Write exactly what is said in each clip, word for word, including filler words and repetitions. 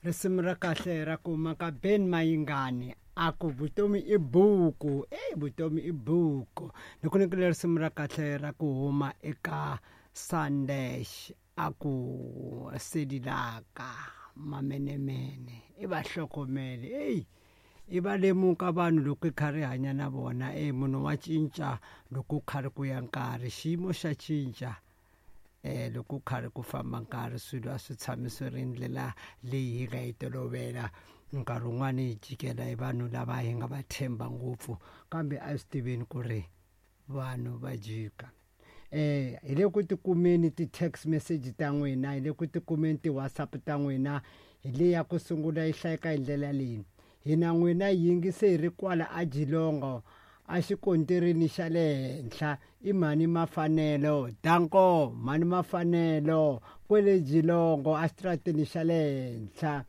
Risimu ra kahle ra ku maka Ben Mayingani a ku vutomi i buku, e vutomi i buku. Ni ku nyikile risimu ra kahle ra ku huma eka Sandesh a ku sedilaka mamenemene i va hlokomele. Eyi i va lemuka vanhu loko i karhi hanya na vona. E munhu wa cinca loko karhi ku ya nkarhi, xiyimo xa cinca. Eh loko karhi ku famba nkarhi swilo a swi tshami swi ri ndlela leyi hi nga yi tolovela. Nkarhi wun'wani hi jikela hi vanhu lava hi nga va tshemba ngopfu, kambe a swi tiveni ku ri vanhu va jika. Eh hi le ku tikumeni ti-text message ta n'wina, hi le ku tikumeni ti-WhatsApp ta n'wina. Hi leyi ya ku sungula yi hlayeka hi ndlela leyi: hina n'wina yingise hi ri kwala a Jilongo a xikontirini xa le henhla, i mhani Mafanelo danko, mhani Mafanelo kwele Jilongo a xitarateni xa le henhla.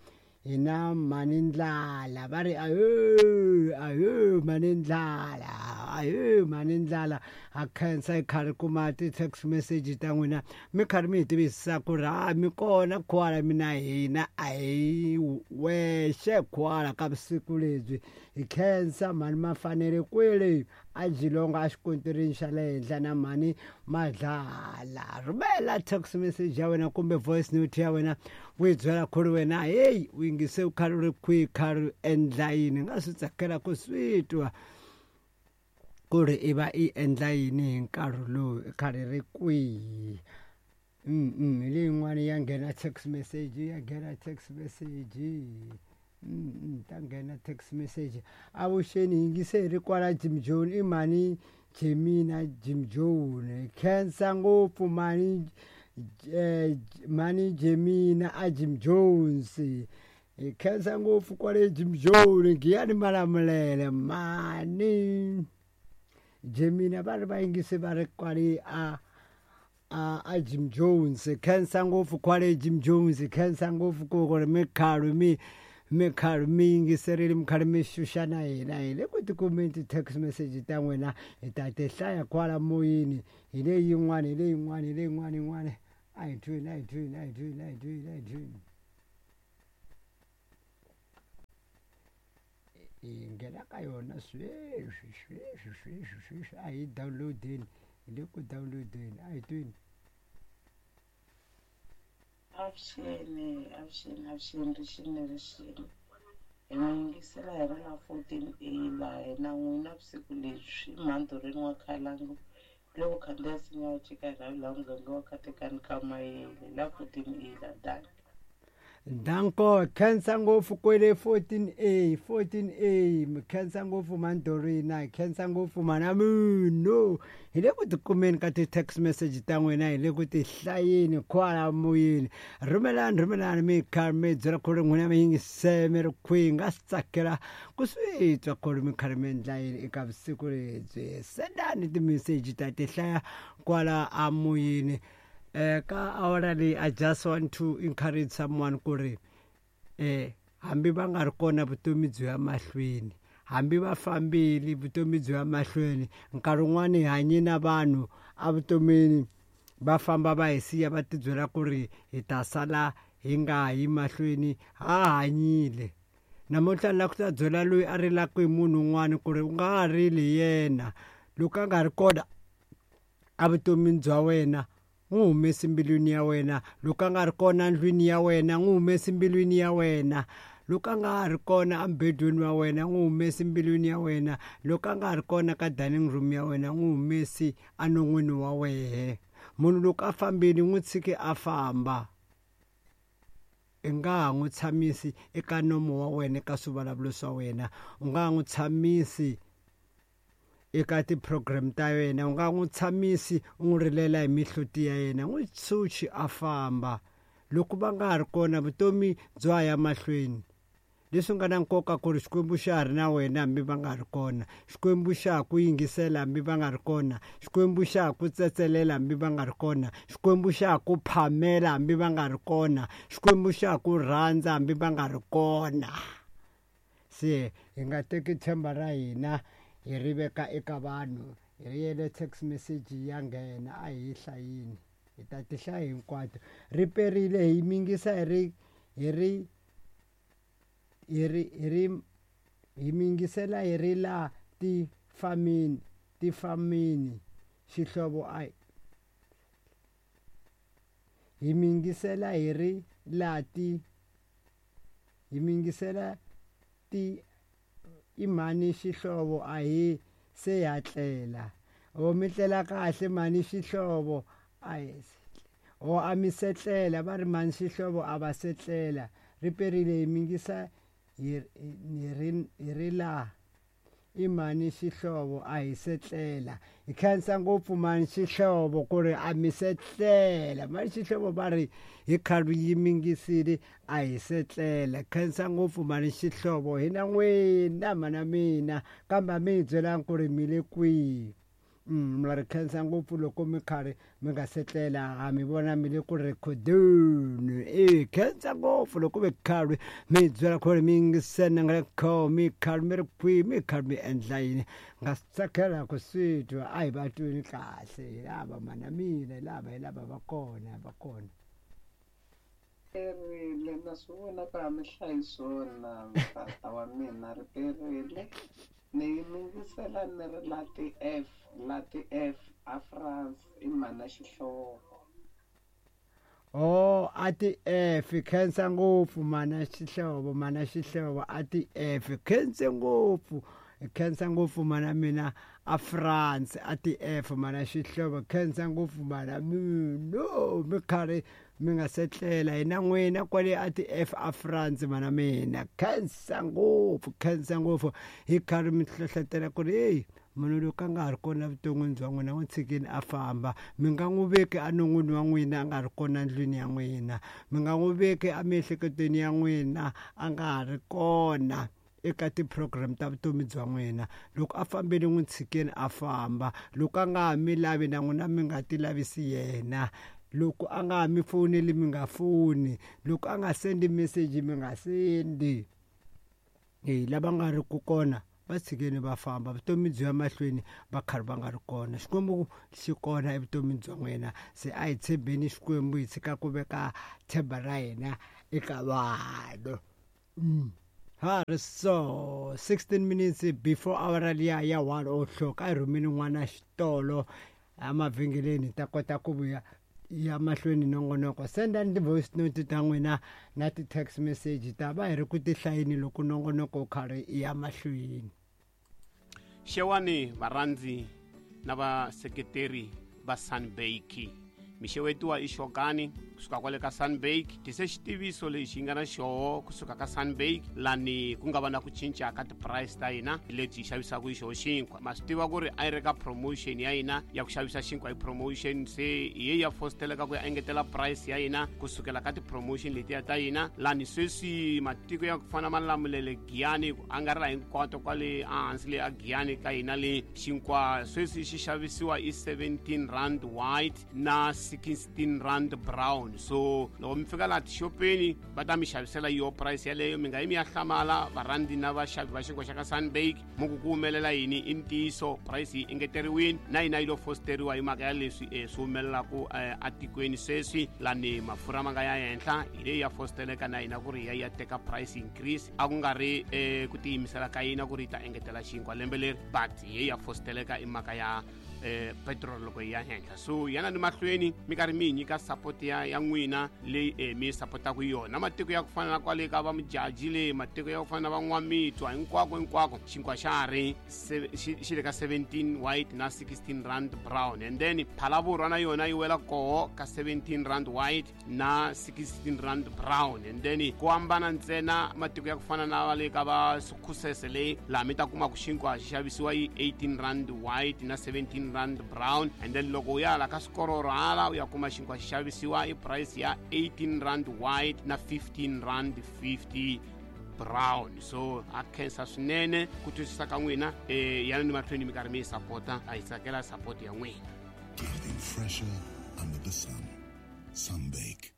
Hina mhani Ndlala va ri ahe ahe mhani Ndlala, ahe mhani Ndlala. Ha khensa hi karhi kuma ti-text message ta n'wina, mi karhi mi hi tivisa ku ri ha mi kona kwala mina hina a hi wexe kwala ka vusiku lebyi. Hi khensa mhani Mafanele kwele a Jilongo a xikontirini xa le henhla na mhani Madlala. Rhumela text message ya wena kumbe voice note ya wena u yi byela ku ri wena heyi u yingise u karhi u ri kwihi, karhi u endla yini. Nga swi tsakela ku swi twa ku ri i va i endla yini hi nkarhi lowu, i karhi ri kwihi. Mm hi leyi yin'wana ya nghena text message, ya nghena text message. Mm ta nghena text message. Avuxeni, yingise hi ri kwala Jim Jones, i mhani Jemina Jim Jones. Khensa ngopfu mhani eh, mhani Jemina a Jim Jones. Hi khensa ngopfu kwale Jim Jones, Giyani Malamulele. Mhani Jemina va ri va yingise va ri kwale a a a Jim Jones. Khensa ngopfu kwale Jim Jones, khensa ngopfu ku ri mi khalu mi mi karhi mi yingiserile, mi karhi mi xuxa na hina. Hi le ku tikumeni ti-text message ta n'wina, hi ta ti hlaya kwala moyeni. Hi leyi yin'wana, hi leyi yin'wana, hi leyi yin'wana yin'wana. A hi tweni, a hi tweni, a hi tweni, a hi tweni, a hi tweni. Hi nghena ka yona sweswi sweswi sweswi sweswi. A hi downloadeni, hi le ku downloadeni, a hi tweni. Avuxeni, avuxeni, avuxeni, rixini, rixini. Hi mi yingisela hi ri la fourteen A laha hina n'wina vusiku lebyi mhandoreni wa Khalangu loko khandziya nsinya wa chika rhavi laha muganga wa Katekani ka Mayele la fourteen A la danki. Danko, khensa ngopfu kwele fourteen A, fourteen A. Mi khensa ngopfu Mandorina, khensa ngopfu mana munhu. Hi le ku tikumeni ka ti-text message ta n'wina, hi le ku ti hlayeni kwala moyeni. Rhumelani, rhumelani mi karhi mi byela ku ri n'wina mi yingise mi ri kwihi. Nga swi tsakela ku swi twa ku ri mi karhi mi endla yini eka vusiku lebyi. Sendani ti-message ta ti hlaya kwala amoyeni. Eh ka awara leyi, I just want to encourage someone ku ri eh hambi va nga ri kona vutomi byi ya mahlweni, hambi va fambile vutomi byi ya mahlweni. Nkarhi wun'wani hi hanye na vanhu evutomini va famba va hi siya va tibyela ku ri hi ta sala hi nga yi mahlweni, ha hanyile. Namuntlha ni lava ku ta byela loyi a rilaka hi munhu un'wana ku ri u nga ha rili hi yena. Loko a nga ri kona evutomini bya wena, n'wi humesi mbilwini ya wena. Loko a nga ri kona ndlwini ya wena, n'wi humesi mbilwini ya wena. Loko a nga ha ri kona embedweni wa wena, n'wi humesi mbilwini ya wena. Loko a nga ha ri kona ka dining room ya wena, n'wi humesi enon'wini wa wehe. Munhu loko a fambile, n'wi tshiki a famba. I nga ha n'wi tshamisi eka nomo wa wena, eka swivulavulo swa wena. U nga ha n'wi tshamisi eka ti-program ta yena, u nga n'wi tshamisi u n'wi rilela hi mihloti ya yena. N'wi tshunxi a famba. Loko va nga ha ri kona, vutomi byo ha ya mahlweni. Leswi nga na nkoka ku ri Xikwembu xa ha ri na wena hambi va nga ri kona. Xikwembu xa ha ku yingisela hambi va nga ri kona. Xikwembu xa ha ku tsetselela hambi va nga ri kona. Xikwembu xa ha ku phamela hambi va nga ri kona. Xikwembu xa ha ku rhandza hambi va nga ri kona. Se hi nga teki tshemba ra hina hi ri veka eka vanhu. Hi ri yele text message ya nghena, a hi hlayini, hi ta ti hlaya hinkwato. Ri perile hi mingisa hi ri hi ri hi ri hi ri hi mi yingisela hi ri la tifamini tifamini xihlovo a hi mi yingisela hi ri la ti hi mi yingisela ti i mhani xihlovo a hi se hatlela o mi tlela kahle mhani xihlovo a hi o a mi setlela va ri mhani xihlovo a va setlela ri perile hi mi yingisa hi ri hi ri la i mhani xihlovo a hi setlela hi khensa ngopfu mhani xihlovo ku ri a mi setlela mhani xihlovo va ri hi khale yi mingisile a hi setlela khensa ngopfu mhani xihlovo hina n'wina mhana mina kambe a mi hi byelangi ku ri mi le kwihi mi ri khensa ngopfu loko mi karhi mi nga setlela ha mi vona mi le ku rhekhodeni e khensa ngopfu loko mi karhi mi hi byela ku ri mi yingisene nga le kho mi karhi mi ri kwihi mi karhi mi endla yini nga swi tsakela ku swi twa a hi va tweni kahle hi lava mana mina hi lava hi lava va kona va kona Perile na swi vona ku a mi hlayi swona tata wa mina ri perile ni yingisela ni ri la ti-F la ti-F a France i mhana xihlovo oh a ti-F khensa ngopfu mana xihlovo mana xihlovo a ti-F khense ngopfu khensa ngopfu mana mina a France a ti-F mana xihlovo khensa ngopfu mana mina mi karhi mi nga setlela hina n'wina kwale a ti-F a France mana mina khensa ngopfu khensa ngopfu hi karhi mi hlohletela ku ri heyi munhu loko a nga ha ri kona evuton'wini bya n'wina n'wi tshikeni a famba mi nga n'wi veki enon'wini wa n'wina a nga ri kona ndlwini ya n'wina mi nga n'wi veki emiehleketweni ya n'wina a nga ha ri kona eka ti-program ta vutomi bya n'wina loko a fambile n'wi tshikeni a famba loko a nga ha mi lavi na n'wina mi nga ti lavisi yena loko a nga ha mi foneli mi nga foni loko a nga sendi message mi nga sendi e lava nga ri ku kona va tshikeni va famba vutomi byi ya mahlweni va karhi va nga ri kona xikwembu xi kona evutomini bya n'wina se a hi tshembeni xikwembu hi tshika ku veka tshemba ra hina eka vanhu ha ri so sixteen minutes before hour liya ya one o'clock a hi rhumeni n'wana xitolo emavhengeleni hi ta kota ku vuya ya mahlweni nongonoko sendani ti-voice note ta n'wina na ti-text message ta va hi ri ku tihlayeni loko nongonoko wu karhi ya mahlweni xewani varhandzi na vaseketeri va Sunbake mixewetiwa i xokani kusuka kwale ka Sunbake tise xitiviso lexi nga na xoho kusuka ka Sunbake lani ku nga va na ku cinca ka ti-price ta hina leti hi xavisaka hi xoho xinkwa ma swi tiva ku ri a yi ri ka promotion ya hina ya ku xavisa xinkwa hi promotion se hi ye ya fosteleka ku ya engetela price ya hina kusukela ka ti-promotion letiya ta hina lani sweswi matiko ya ku fana Malamulele Giyani ku angarhela hinkwato kwale ehansi le a Giyani ka hina le xinkwa sweswi xi xavisiwa i seventeen rand white na sixteen rand brown so loko mi fika laha tixopeni va ta mi xavisela yo price yaleyo mi nga yi mi ya hlamala varhandzi na vaxavi va xinkwa xa ka Sunbake mu ku ku humelela yini i ntiyiso price yi engeteriwini na yina yi lo fosteriwa hi mhaka ya leswi um swi humelelaku atikweni sweswi lani mafurha ma nga ya henhla hi leyi ya fosteleka na hina ku ri ya ya teka price increase a ku nga ri um ku tiyimisela ka yina ku ri yi ta engetela xinkwa lembe leri but hi ye ya fosteleka i mhaka ya eh petrol loko yi ya henhla so yana ni mahlweni mi karhi mi hi nyika support ya ya n'wina leyi eh, mi sapotaka yona matiko ya ku fana na kwale ka va Mujaji le matiko ya ku fana na van'wamitwa hinkwako hinkwako xinkwa xa ha ri xi le ka seventeen white na sixteen rand brown and then Phalavurwa na yona yi wela koho ka seventeen rand white na sixteen rand brown and then ku hambana ntsena matiko ya ku fana na va le ka va Sukhusese leyi laha mi ta kuma ku xinkwa xi xavisiwa yi eighteen rand white na seventeen rand brown and then loko u ya la ka swikororo hala u ya kuma xinkwa xi xavisiwa i price ya eighteen rand white na fifteen rand fifty brown so a khensa swinene ku twisisa ka n'wina eh yana ni mahlweni mi karhi mi yi sapota a hi tsakela support ya n'wina. Everything fresher under the sun. Sunbake.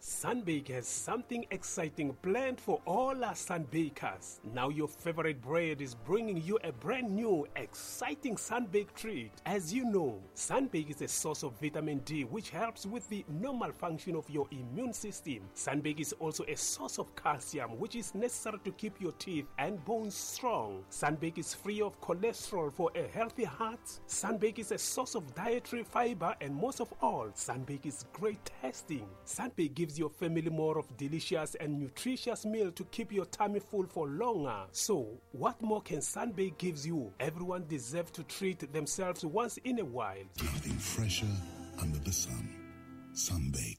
Sunbake has something exciting planned for all our Sunbakers. Now your favorite bread is bringing you a brand new, exciting Sunbake treat. As you know, Sunbake is a source of vitamin D, which helps with the normal function of your immune system. Sunbake is also a source of calcium, which is necessary to keep your teeth and bones strong. Sunbake is free of cholesterol for a healthy heart. Sunbake is a source of dietary fiber, and most of all, Sunbake is great tasting. Sunbake gives your family more of delicious and nutritious meal to keep your tummy full for longer. So, what more can Sunbake gives you? Everyone deserves to treat themselves once in a while. Nothing fresher under the sun. Sunbake.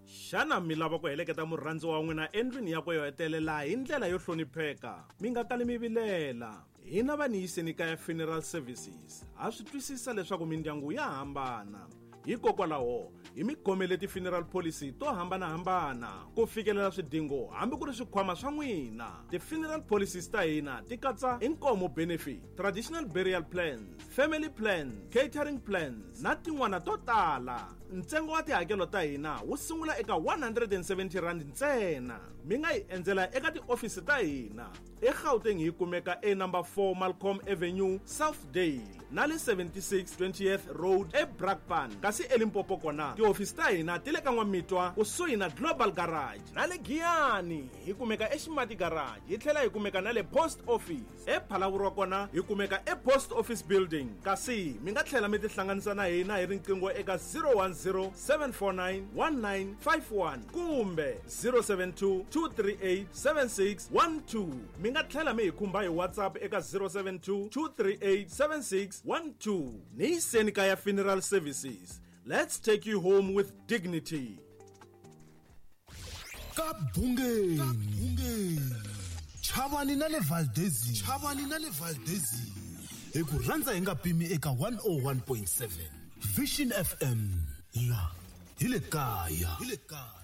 Xana mi lava ku heleketa murhandziwa wa n'wina endlwini yakwe yo hetelela hi ndlela yo hlonipheka? Mi nga kali mi vilela. Hina va Niyiseni Kaya Funeral Services ha swi twisisa leswaku mindyangu ya hambana. Hikokwalaho hi mi khomele ti-funeral policy to hambanahambana ku fikelela swidingo hambi ku ri swikhwama swa n'wina. Ti-funeral policies ta hina ti katsa inkomo benefit, traditional burial plans, family plans, catering plans na tin'wana to tala. Ntsengo wa tihakelo ta hina wu sungula eka one hundred and seventy rand ntsena. Mi nga hi endzela eka tiofisi ta hina eGauteng hi kumeka e number four Malcolm Avenue, Southdale, na le seventy-six twentieth Road eBrakpan. Kasi eLimpopo kona tiofisi ta hina ti le ka N'wamitwa kusuhi na Global Garage, na le Giyani hi kumeka eXimati Garage, hi tlhela hi kumeka na le Post Office. ePhalaborwa kona hi kumeka ePost Office Building. Kasi mi nga tlhela mi tihlanganisa na hina hi riqingho eka zero one zero seven four nine one nine five one kumbe zero seven two two three eight seven six one two. Mi nga tlhela mi hi khumba hi WhatsApp eka zero seven two two three eight seven six one two. Niyiseni Kaya Funeral Services. Let's take you home with dignity. Ka Bungeni. Chavani na le Valdezi. Chavani na le Valdezi. Hi ku rhandza hi nga pimi eka one oh one point seven. Vision F M. La hi le kaya. Hi le kaya.